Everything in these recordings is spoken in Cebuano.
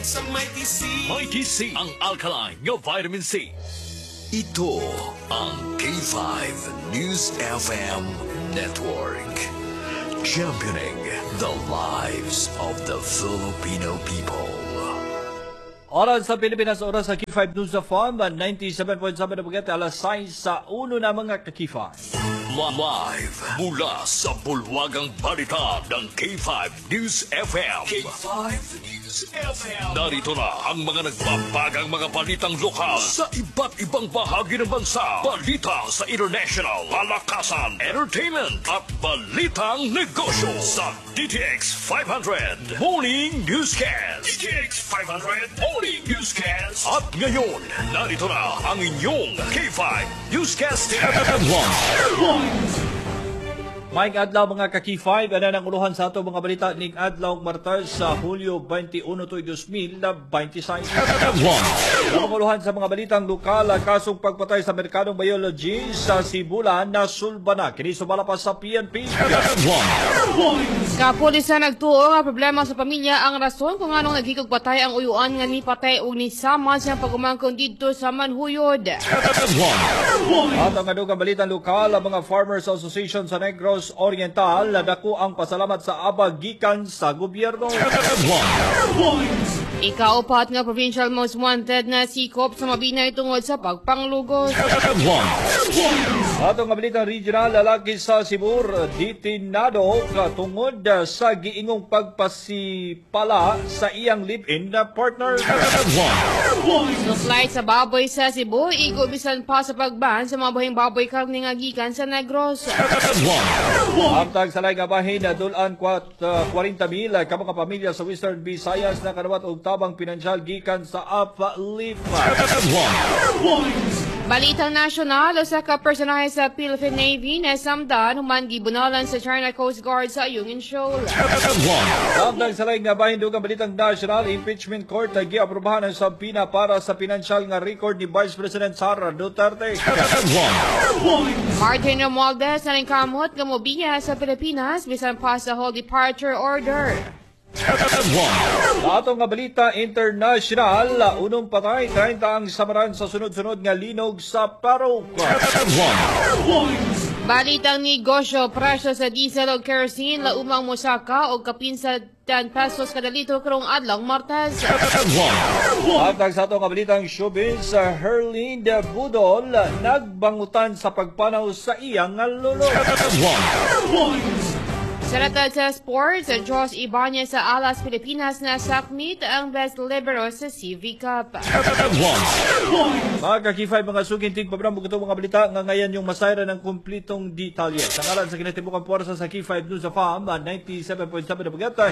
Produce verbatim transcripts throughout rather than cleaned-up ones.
Sa Mighty C. Mighty C, ang alkaline nga vitamin C. Ito ang K five News F M Network. Championing the lives of the Filipino people. Oras sa Pilipinas, oras sa K five News F M, ninety-seven point seven na Bugete, alas sais sa uno na, mga ka-K five. Live mula sa bulwagang balita ng K five News F M. K five News F M. Narito na ang mga nagbabagang mga balitang lokal sa iba't ibang bahagi ng bansa. Balita sa international, palakasan, entertainment, at balitang negosyo sa D T X five hundred Morning Newscast. D T X five hundred Morning Newscast. At ngayon, narito na ang inyong K five Newscast one. Maayong adlaw, mga ka-K five, ana ang uluhan sa ato mga balita ning adlaw Martes sa Hulyo twenty-one tuig twenty twenty-six. Ang uluhan sa mga balitang lokal, kasong pagpatay sa Amerikanong biology sa Sibulan na sulba na. Kini sumala pa sa P N P. Kapulisan nagtuo nga problema sa pamilya ang rason kung anong naghikog patay ang uyuan nga nipatay og nisama sa pag-umangkon didto sa Manhuyod. At ang adugang balitang lokal, ang mga Farmers Association sa Negros Oriental, dako ang pasalamat sa abag gikan sa gobyerno. Ikaupat nga provincial most wanted na sikop sa Mabinay tungod sa pagpanglugos. At ang balitang regional, lalaki sa Cebu detinado katungod sa giingong pagpasipala sa iyang live-in na partner. Supply sa baboy sa Cebu, igo bisan pa sa pagban sa mga buhing baboy karne nga gikan sa Negros. Amtag sa laing bahin na dulan kwat, uh, forty mil ka mga pamilya sa Western Visayas na kadawat og tabang pinansyal gikan sa Uplift. Balitang nasyonal, usa ka personahe sa Philippine Navy na samdan human gibunalan sa China Coast Guard sa Ayungin Shoal. Samtang sa laing bahin, dugang balitang national, impeachment court ay giaprobahan ang subpoena para sa pinansyal nga record ni Vice President Sara Duterte. Martin Romualdez na kamot nga mobiya sa Pilipinas bisan pa sa hold departure order. Sa atong nga balita international, unong patay, trenta ang samaran sa sunod-sunod nga linog sa Peru. Balitang negosyo, presyo sa diesel o kerosene laumang mosaka og kapin sa ten pesos kada litro karong adlaw Martes. Samtang sa atong nga balitang showbiz, Herlene Budol nagbangutan sa pagpanaw sa iyang nga lolo. Sa ratad sa sports, Josh Ibanez sa Alas Pilipinas na sakmit ang best libero sa C V Cup. Mga ka-K five, mga suking tigpabram, ito mga balita nga ngayon yung masayra ng kumplitong detalye. Sa ngalan sa kinatibukang puwersa sa K five News F M, ninety-seven point seven na Pagata,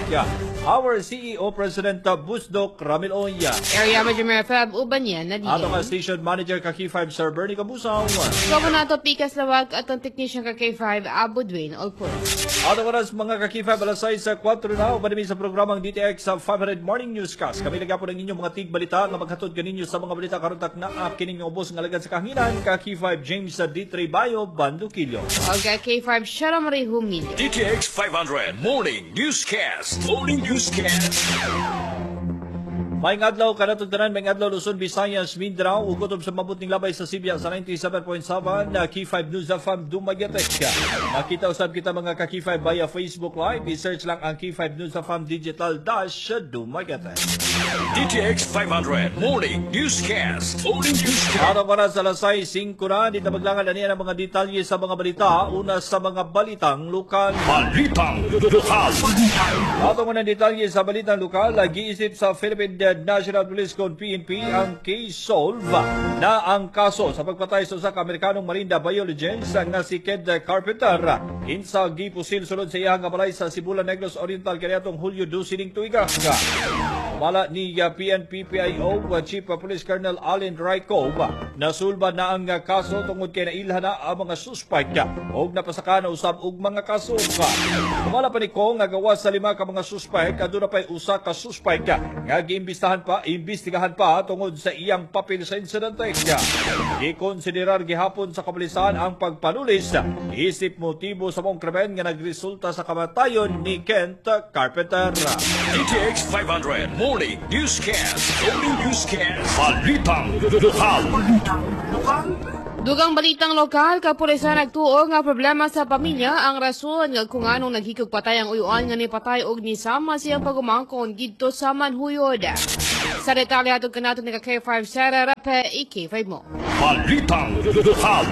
our C E O President Busdok Ramil Oya. Area Manager Feb Ubanyan na Ato nga diin. Station Manager ka K five Sir Bernie Kabusaw. Kamu na to Pikas Lawag at ang technician ka K five Abu Dwayne Olpur. Ato oras, mga ka-K five, alas sais sa kwatro na, uban sa programang D T X sa five hundred Morning Newscast. Kami lagi po ng inyong mga tig balita nga maghatod kaninyo sa mga balita karon takna kining ubos nga alagad sa kahanginan ka K five James sa D three Bayo Bandukillo. Og ka K five Shara Marie Humilyo. D T X five hundred Morning Newscast. Morning Newscast. Maayong adlaw kanatong tanan, maayong adlaw Luzon, Visayas, Mindanao, ug kutob sa mabuting labay sa Sibya sa ninety-seven point seven na K five News F M Dumaguete. Makita usab kita, mga ka-K five, via Facebook Live. I-search lang ang K five News F M Digital Dash Dumaguete. D T X five hundred Morning Newscast. Morning Newscast. Araw para sa alas sais singko na, di tabaglangan na niya ang mga detalye sa mga balita. Una sa mga balitang lokal. Balitang Lokal. Ato mo ng detalye sa balitang lokal, giisip sa Philippine National Police kon P N P ang case solve na ang kaso sa pagpatay sa usa ka Amerikanong marine biologist nga si Kent Carpenter. Insa gipusil sulod sa iyang balay sa Sibulan, Negros Oriental kaniadtong Hulyo dose ning tuiga. Mala ni uh, P N P P I O uh, Chief uh, Police Colonel Allen Rayco, nasulba na ang uh, kaso tungod kay nailhan na ang mga suspect og napasaka na usab og mga kaso. Sumala pa ni Kong nga gawas sa lima ka mga suspect, aduna pay usa ka suspect nga giimbistahan pa, imbestigahan pa tungod sa iyang papel sa insidente. Gikonsiderar gihapon sa kapulisan ang pagpanulis isip motibo sa mong krimen nga nagresulta sa kamatayon ni Kent Carpenter. D T X five hundred Morning Newscast. Morning Newscast. Balitang Lokal. Dugang balitang lokal, kapulisan nagtuo nga problema sa pamilya ang rason nga kung anong naghikog patay ang uyuan nga nipatay og nisama siyang pagumangkon didto sa Manhuyod. Sa detalye, hatod kanato ni ka K five Sarah Rape, i-K five mo. Balitang Lokal.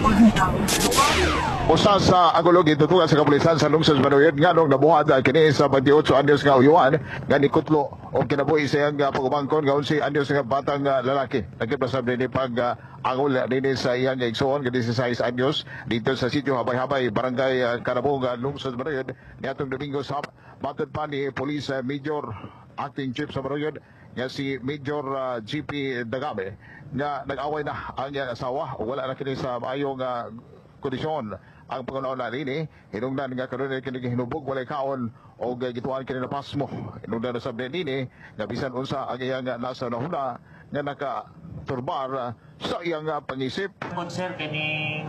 Usa sa angulog gitutukan sa kapulisan sa lungsod sa Manuyod nganong nabuhat kini sa twenty-eight anyos nga uyuan nga nikutlo og kinabuhi sa iyang pagumangkon nga eleven anyos nga batang ah, lalaki. Nagkita sa dinhi pag ah, angol dinhi sa iyang igsoon nga sixteen anyos dito sa sitio Habay-Habay, Barangay ah, Karabong, ah, lungsod sa Manuyod niadtong Domingo sa matod pa ni Police ah, Major Acting Chief sa Manuyod nga si Major ah, G P Dagame nga nag-away na ang iyang asawa ug wala na kini sa maayong ah, kondisyon ang pangunaon na nini, hinungdan nga karon kini hinubog, walay kaon og gituan kini na pasmo. Hinungdan na sab nini nga bisan unsa ang iyang nasa nahuna nga nakaturbar ah, sa iyang ah, pangisip. Pod sir, kini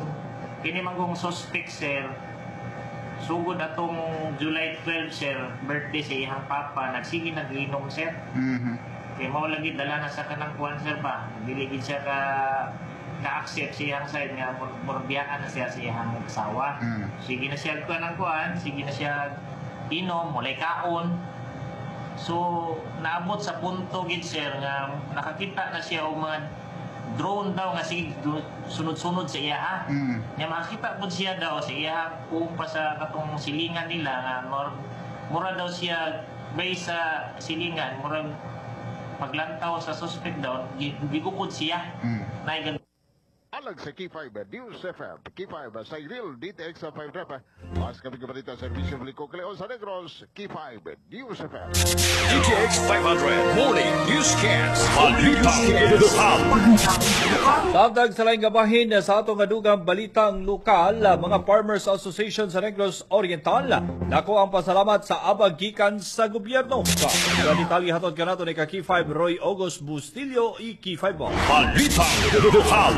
kini manggong suspect, sir, sugod atong July twelve, sir, birthday sa iyang papa, nagsige nag-inom, sir. Kay mao lagi dala na sa kanang kuan, sir, ba. Dili gid siya ka ka-accept sa iyang side nga mur- murbiyaan na siya sa iyang asawa. Sige na siya kuan ang kuan, sige na siya inom, walay kaon. So, naabot sa punto gid, sir, nga nakakita na siya og mga drone daw nga sige du- sunod-sunod sa iya ha. Nga makakita pud siya daw sa iya kung pa sa katong silingan nila nga mur- mura daw siya base sa silingan, murag paglantaw sa suspect daw gi- gigukod siya. Nay Alang sa K five News F M, K five sa Iril D T X five Rep. Mas kami kabalita serbisyo publiko Cleon sa Negros, K five News F M. D T X five hundred Morning Newscast. Balitang Lokal. Samtang sa laing gabahin sa atong adugang balitang lokal, mga Farmers Association sa Negros Oriental, dako ang pasalamat sa abag gikan sa gobyerno. Sa detalye, hatod kanato ni ka K five Roy August Bustillo, i K five mo. Balitang Lokal.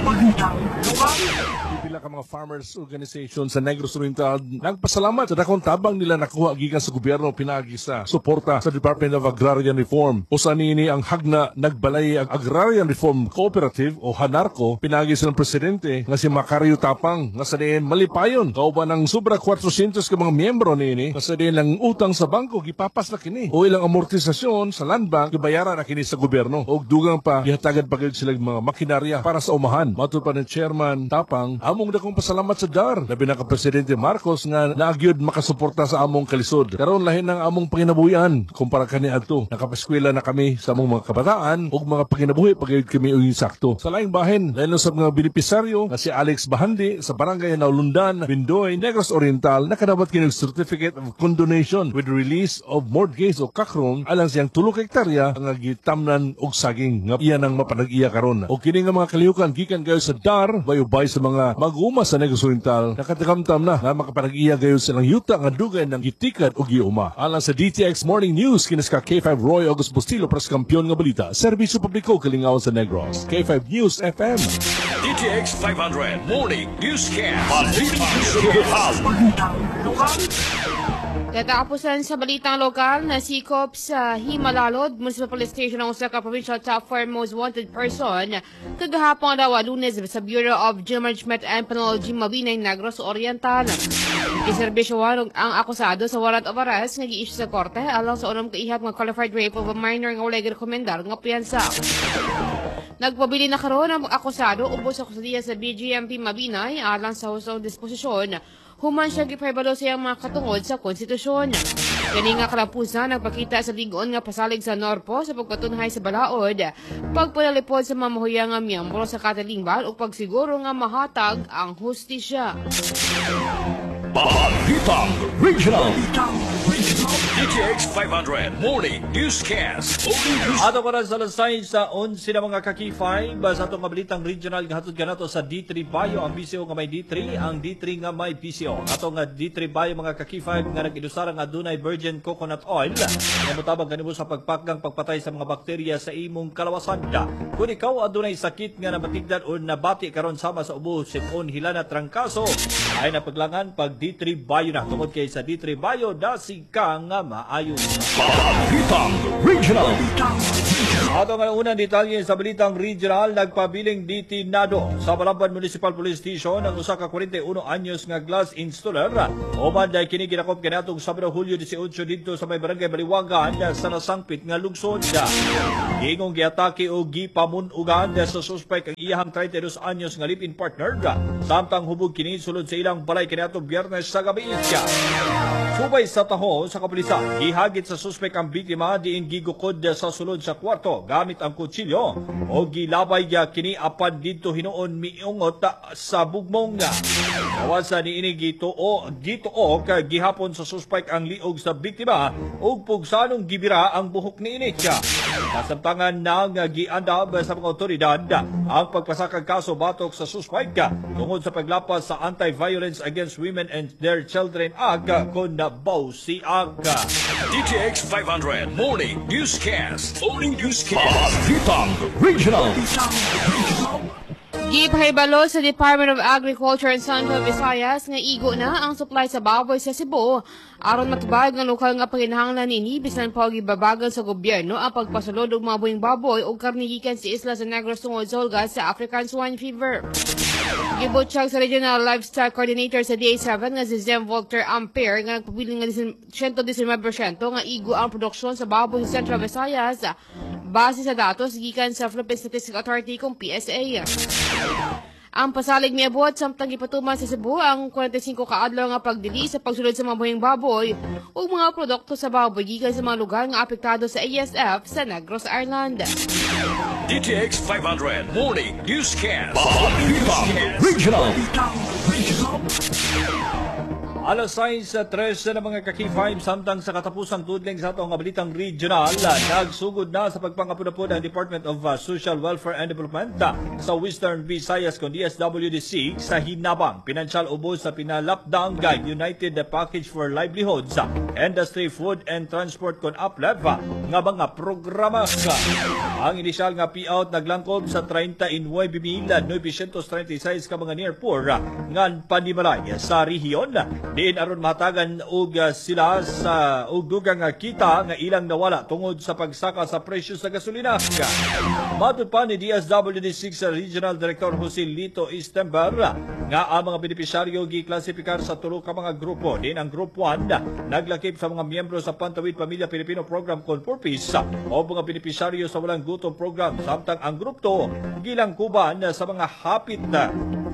Pila ka mga farmers organization sa Negros Oriental nagpasalamat sa dakong tabang nila nakuha gikan sa gobyerno pinaagi sa suporta sa Department of Agrarian Reform. Usa niini ang Hagna Nagbalay Agrarian Reform Cooperative o HANARCO pinaagi sa presidente nga si Macario Tapang nga sa diin malipayon kauban ang sobra four hundred ka mga miyembro niini nga sa diin ang utang sa bangko gipapas na kini o ilang amortisasyon sa land bank gibayaran na kini sa gobyerno og dugang pa gihatagan pa gyud sila mga makinarya para sa umahan. Matud pa ni Chairman Tapang, among dakong pasalamat sa D A R, labi na ka Presidente Marcos nga naagyod makasuporta sa among kalisod. Karon lahi ng among panginabuhian kumpara kaniadto. Nakapaskwela na kami sa among mga kabataan ug mga panginabuhi pagyud kami og sakto. Sa laing bahin, lain sa mga benepisaryo nga si Alex Bahandi sa Barangay Naulundan, Bindoy, Negros Oriental nakadawat kini og Certificate of Condonation with release of mortgage o kakron alang siyang tulo ka hektarya nga gitamnan og saging nga iya nang mapanag-iya karon. O kini nga mga kalihukan gikan kayo sa D A R bayubay sa mga mag-uuma sa Negros Oriental nakatakamtam na nga makapanag-iya gayon silang yuta nga dugay ng gitikad o giuma. Alang sa D T X Morning News, kinis ka K five Roy August Bustillo para sa kampiyon nga balita. Serbisyo publiko kalingawan sa Negros. K five News F M. D T X five hundred Morning Newscast. Balitang Lokal. Katapusan sa balitang lokal, nasikop sa Jimalalud Municipal Police Station ang usa ka provincial top four most wanted person kagahapon daw, Lunes, sa Bureau of Jail Management and Penology, Mabinay, Negros Oriental. Giserbisyohan ang akusado sa warrant of arrest nga gi-issue sa korte alang sa unom ka ihap nga qualified rape of a minor nga walay girekomendar nga piyansa. Nagpabili na karon ang akusado ubos sa kustodiya sa B J M P Mabinay alang sa hustong disposisyon human siya gipahibalo sa iyang mga katungod sa konstitusyon. Kani nga kalapusan nagpakita sa lig-on nga pasalig sa Norpo sa pagpatunhay sa balaod, pagpanalipod sa mamuhuya nga miyembro sa katilingban ug pagsiguro nga mahatag ang hustisya. Balitang Regional. D T X five hundred Morning Newscast. Morning News Ato ko na sa alas sais sa eleven na mga ka-K five sa atong mabilitang regional nga hatod kanato sa D three Bio, ang B C O nga may D three, ang D three nga may B C O. Ato nga D three Bio, mga ka-K five, nga nag-idusara nga adunay virgin coconut oil nga motabang kanimo sa pagpakgang pagpatay sa mga bakterya sa imong kalawasan. Kung ikaw adunay sakit nga namatigdan o nabati karon sama sa ubo, sipon, hilana, trangkaso, ay napaglangan pag D three Bio na tungod kay sa D three Bio dasig ka nga maayo. Balitang Regional. Ato nga unang detalye sa balitang regional, nagpabiling detinado sa Balamban Municipal Police Station ang usa ka kwarenta y uno anyos nga glass installer. Human dahil kini ginakop kaniadtong Sabado, Hulyo labing-walo didto sa may barangay Baliwagan sa nasangpit nga lungsod. Giingong giatake o gipamunugan sa suspect ang iyahang trenta y dos anyos nga live-in partner samtang hubog kini sulod sa ilang balay kaniadtong Biyernes sa gabi. Subay sa taho sa kapulisan, gihagit sa suspect ang biktima diin gigukod sa sulod sa kwarto gamit ang kutsilyo o gilabay kini apan didto hinuon miungot sa bugmong. Gawas sa niini, gituo gituok gihapon sa suspect ang liog sa biktima ug pugsanong gibira ang buhok niini. Kasamtangan nang giandam sa mga otoridad ang pagpasakag kaso batok sa suspect tungod sa paglapas sa Anti-Violence Against Women and Their Children Act kon B A W C Act. D T X five hundred Morning Newscast. Morning Newscast. Balitang Regional. Gipahibalo sa Department of Agriculture and Central Visayas nga igo na ang supply sa baboy sa Cebu aron matubag ang lokal nga panginahanglan niini bisan pa og gibabagal sa gobyerno ang pagpasulod og mga buhing baboy ug karne gikan sa isla sa Negros tungod sa hulga sa African Swine Fever. Gibutyag sa Regional Livestock Coordinator sa D A seven nga si Zem Volter Ampere nga nagpabilin nga one hundred nineteen porsyento nga igo ang produksyon sa baboy sa Central Visayas base sa datos gikan sa Philippine Statistics Authority kung P S A. Ang pasalig miabot samtang gipatuman sa Cebu ang kwarenta y singko ka adlaw nga pagdili sa pagsulod sa mga buhing baboy ug mga produkto sa baboy gikan sa mga lugar nga apektado sa A S F sa Negros Island. D T X five hundred Morning Newscast. Balitang Regional. Alas sais tres na, mga ka-K five, samtang sa katapusang tudling sa atong balitang regional, nagsugod na sa pagpangapud-apud ang Department of uh, Social Welfare and Development uh, sa Western Visayas kon D S W D six sa hinabang pinansyal ubos sa pinalapdang United Package for Livelihoods, Industry, Food and Transport kon UPLEF nga mga programa. Ang inisyal nga payout naglangkob sa trenta y nuwebe mil noybesyentos trenta y sais ka mga near poor nga panimalay sa rehiyon diin aron mahatagan og uh, sila sa og dugang nga kita nga ilang nawala tungod sa pagsaka sa presyo sa gasolina. Matod pa ni D S W D six Regional Director Jose Lito Istember nga ang mga benepisyaryo giklasipikar sa tulo ka mga grupo. Din ang Group one naglakip sa mga miyembro sa Pantawid Pamilya Pilipino Program kon Purpose o mga benepisyaryo sa Walang Gutom Program, samtang ang Group two gilangkuban sa mga hapit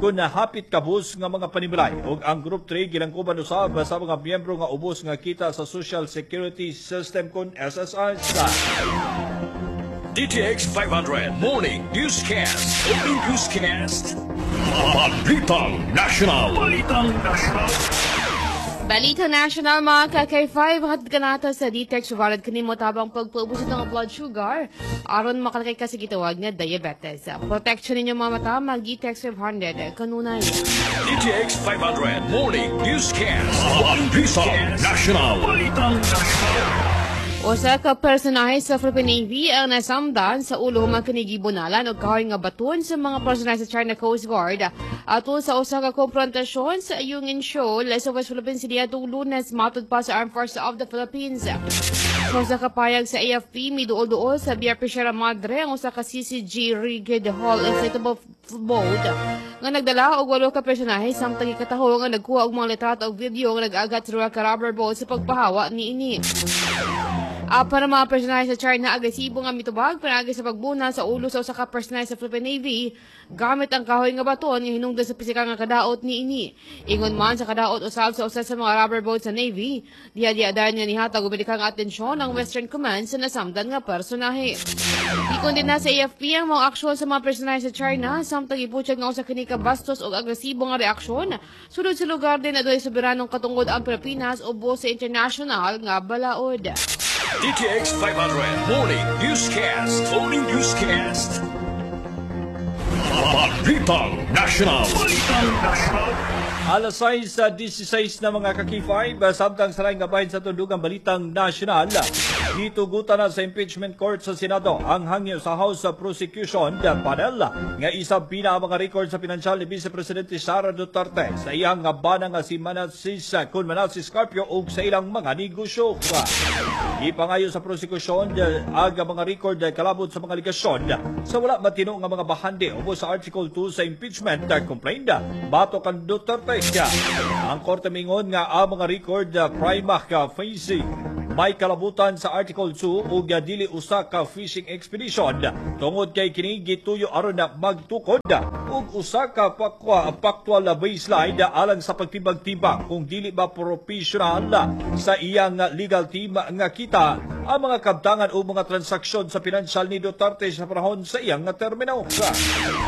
kun hapit kabus nga mga panimalay ug ang Group three gilangkuban usab sa mga miyembro nga ubos nga kita sa Social Security System kon S S S. D T X five hundred Morning Newscast. Morning Newscast. Balitang National. Balitang National. Balita National, mga ka-K five, hatid ka nato sa D T X valid kanimo tabang pagpaubos ng blood sugar aron makalakay ka sa gitawag nga diabetes. Protection ninyo mga mata, mag D T X five hundred kanunay. D T X five hundred Morning Newscast. Balitang National. Balitang National. Usa ka personahe sa Philippine Navy ang nasamdan sa ulo human kini gibunalan og kahoy nga baton sa mga personahe sa China Coast Guard atol sa usa ka komprontasyon sa Ayungin Shoal sa West Philippine Sea atong Lunes, matod pa sa Armed Forces of the Philippines. Sa usa ka payag sa A F P, miduol-duol sa B R P Sierra Madre ang usa ka C C G rigid hull inflatable boat nga nagdala og walo ka personahe samtang gikataho nga nagkuha og mga litrato og video nga nag-agat sa duha ka rubber boat sa pagpahawa niini. Apan ang mga personahe sa China agresibo nga mitubag panaagi sa pagbuna sa ulo sa usa ka personahe sa Philippine Navy gamit ang kahoy nga baton nga hinungdan sa pisikal nga kadaot niini. Ingon man sa kadaot usab sa usa sa mga rubber boat sa Navy, diha diha dayon nga nihatag og medikal nga atensyon ang Western Command sa nasamdan nga personahe. Gikondena sa A F P ang mga aksyon sa mga personahe sa China samtang ibutyag nga usa kini ka bastos og agresibo nga reaksyon sulod sa lugar din adunay soberanong katungod ang Pilipinas ubos sa international nga balaod. D T X five hundred Morning Newscast. Morning Newscast. Balitang National. Balitang National. Alas sais sa labing-sais na, mga ka-K five, samtang sa laing gabahin sa tundugang balitang nasyonal. Gitugutan na sa impeachment court sa Senado ang hangyo sa House Prosecution panel nga i-subpoena ang mga record sa pinansyal ni Vice Presidente Sara Duterte sa iyang nga bana nga si Manasis kun Manasis Carpio ug sa ilang mga negosyo. Gipangayo sa prosekusyon ang mga record kalabot sa mga alegasyon sa wala matino nga mga bahandi ubos sa Article two sa impeachment complaint batok kang Duterte. Ang korte mingon nga ang mga record prima facie may kalabutan sa Article two ug dili usa ka fishing expedition tungod kay kini gituyo aron na magtukod og usa ka pakwa factual baseline alang sa pagtimbang-timbang kung dili ba professional sa iyang legal team nga kita ang mga kabtangan o mga transaksyon sa pinansyal ni Duterte sa panahon sa iyang termino.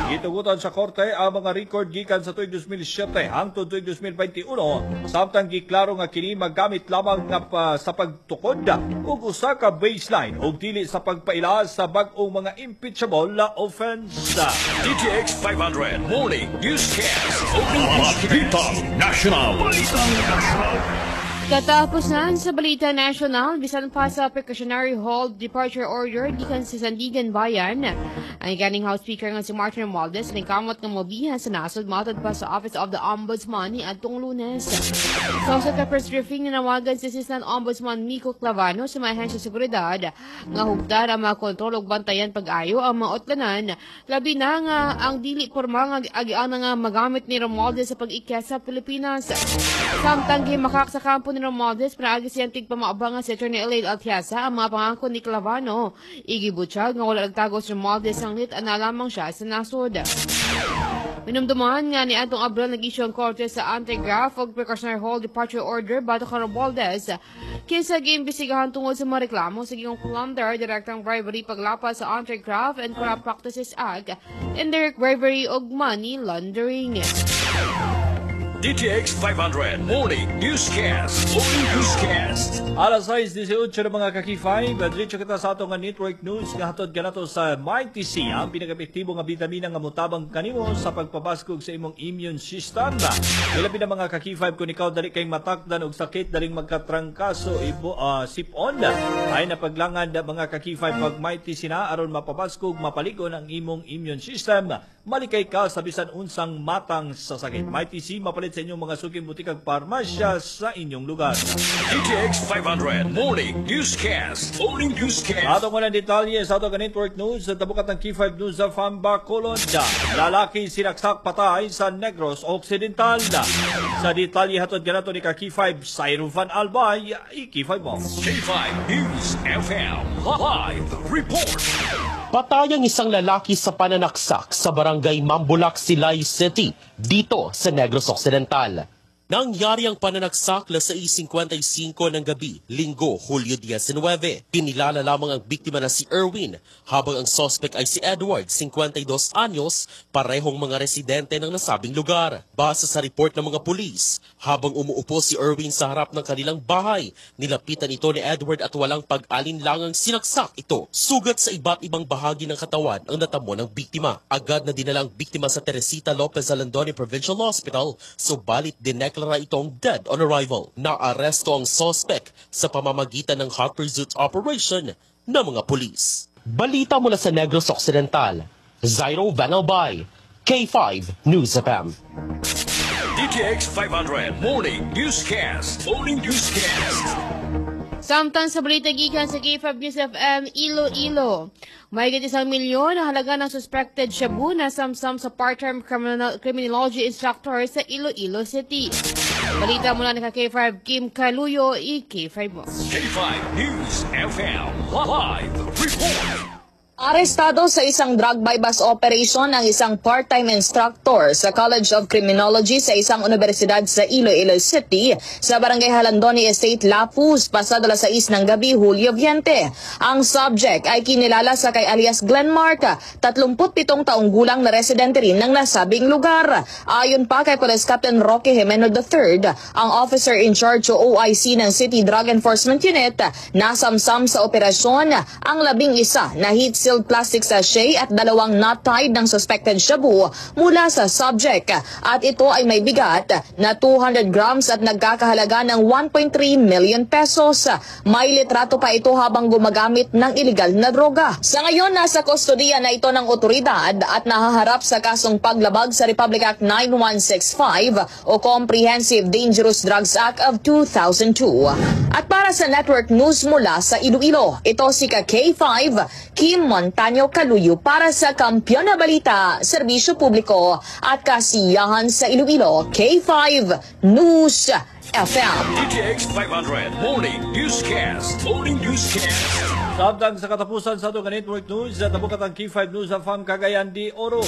Gitugutan sa korte ang mga record gikan sa tuig two thousand seven hangtod tuig twenty twenty-one, samtang giklaro nga kini maggamit lamang nga pa, sa pagtukod og usa ka baseline ug dili sa pagpaila sa bag-ong mga impeachable offense. D T X five hundred Morning Newscast. Balitang National. Balitang National. Katapos na sa Balita National, bisan pa sa precautionary hold departure order gikan sa Sandiganbayan, ang ganing House Speaker nga si Martin Romualdez nagkamot nga mobiha sa nasod matod pa sa Office of the Ombudsman ni adtong Lunes. Sa usa ka press briefing, nanawagan si Assistant Ombudsman Mico Clavano sa mga ahensya sa seguridad nga hugtan ang mga kontrol ug bantayan pag-ayo ang mga utlanan, labi na nga ang dili porma nga agiana nga magamit ni Romualdez sa pag-ikyat sa Pilipinas. Samtang gimakak sa kampo ni Romualdez pinaagi siyang tigpamaabang nga si Attorney Elaine Altiasa ang mga pangako ni Clavano. Igibutyag nga wala nagtago si Romualdez sanglit ana lamang siya sa nasod. Minumduman nga ni atong Abril nag-issue ang korte sa anti-graft ug precautionary hold departure order batok kang Romualdez kinsa giimbestigahan tungod sa mga reklamo sa gihingong plunder, direktang bribery, paglapas sa Anti-Graft and Corrupt Practices Act, indirect bribery ug money laundering. D T X five hundred Morning Newscast. Morning Newscast. Alas sais disiotso na, mga ka-K five, diretso kita sa atong nga network news nga hatod kanato sa Mighty C, ang pinaka-epektibo nga bitamina nga mutabang kanimo sa pagpabaskog sa imong immune system. Ilabi na, mga ka-K five, kung ikaw dali kay matakdan og sakit, daling magkatrangkaso, ibo, uh, sipon, ay napaglangan, mga ka-K five, pag Mighty C na aron mapabaskog, mapaligon ang imong immune system, malikay ka sa bisan unsang matang sa sakit. Mighty C, mapalit sa inyong mga suking butikag parmasya sa inyong lugar. D T X five hundred Morning Newscast. Morning Newscast. Ato ko ng detalye sa ato ka network news sa tabukat ng K five News sa Bacolod. Lalaki sinaksak patay sa Negros Occidental. Sa detalye, hatod kanato ni ka K five Cyrus Van Albay, i-K five mo. K five News F M Live Report. Patay ang isang lalaki sa pananaksak sa barangay Mambulac, Silay City, dito sa Negros Occidental. Nangyari ang pananaksak alas sais singkwenta singko ng gabi, Linggo, Hulyo labing-walo. Kinilala lamang ang biktima na si Erwin, habang ang suspect ay si Edward, singkwenta y dos anyos, parehong mga residente ng nasabing lugar. Base sa report ng mga pulis, habang umuupo si Erwin sa harap ng kanilang bahay, nilapitan ito ni Edward at walang pag-alinlangang sinaksak ito. Sugat sa iba't ibang bahagi ng katawan ang natamo ng biktima. Agad na dinala ang biktima sa Teresita Lopez Jalandoni Provincial Hospital, subalit dineklara itong dead on arrival. Naaresto ang suspect sa pamamagitan ng hot pursuit operation ng mga pulis. Balita mula sa Negros Occidental, Zairo Van Albay, K five News F M. D T X five hundred Morning Newscast. Morning Newscast. Samtang sa balita gikan sa K five News F M, Iloilo. Mahigit isang milyon ang halaga ng suspected shabu na samsam sa part-time criminal, criminology instructor sa Iloilo City. Balita mula ni K five Kim Caluyo, i-K five mo. K five News F M Live Report. Arestado sa isang drug buy-bust operation ang isang part-time instructor sa College of Criminology sa isang universidad sa Iloilo City sa Barangay Halandoni Estate, Lapuz, pasado alas sais ng gabi, Hulyo baynte. Ang subject ay kinilala sa kay alias Glenmark, tatlumput pitong taong gulang na residente rin ng nasabing lugar. Ayon pa kay Police Captain Roque Jimeno the Third, ang officer in charge o O I C ng City Drug Enforcement Unit, nasamsam sa operasyon ang labing isa na heat sealed plastic sachet at dalawang knot-tied ng suspected shabu mula sa subject. At ito ay may bigat na two hundred grams at nagkakahalaga ng one point three million pesos. May litrato pa ito habang gumagamit ng illegal na droga. Sa ngayon, nasa kustodiya na ito ng otoridad at nahaharap sa kasong paglabag sa Republic Act nine one six five o Comprehensive Dangerous Drugs Act of two thousand two. At para sa Network News mula sa Iloilo, ito si ka K five Kim Montaño Caluyo para sa Kampeon na Balita, Serbisyo Publiko at Kasiyahan sa Iloilo, K five News F M. D T X five hundred Morning Newscast. Morning Newscast. Samtang sa katapusan sa atong Network News, tabukat ang K five News F M Cagayan de Oro.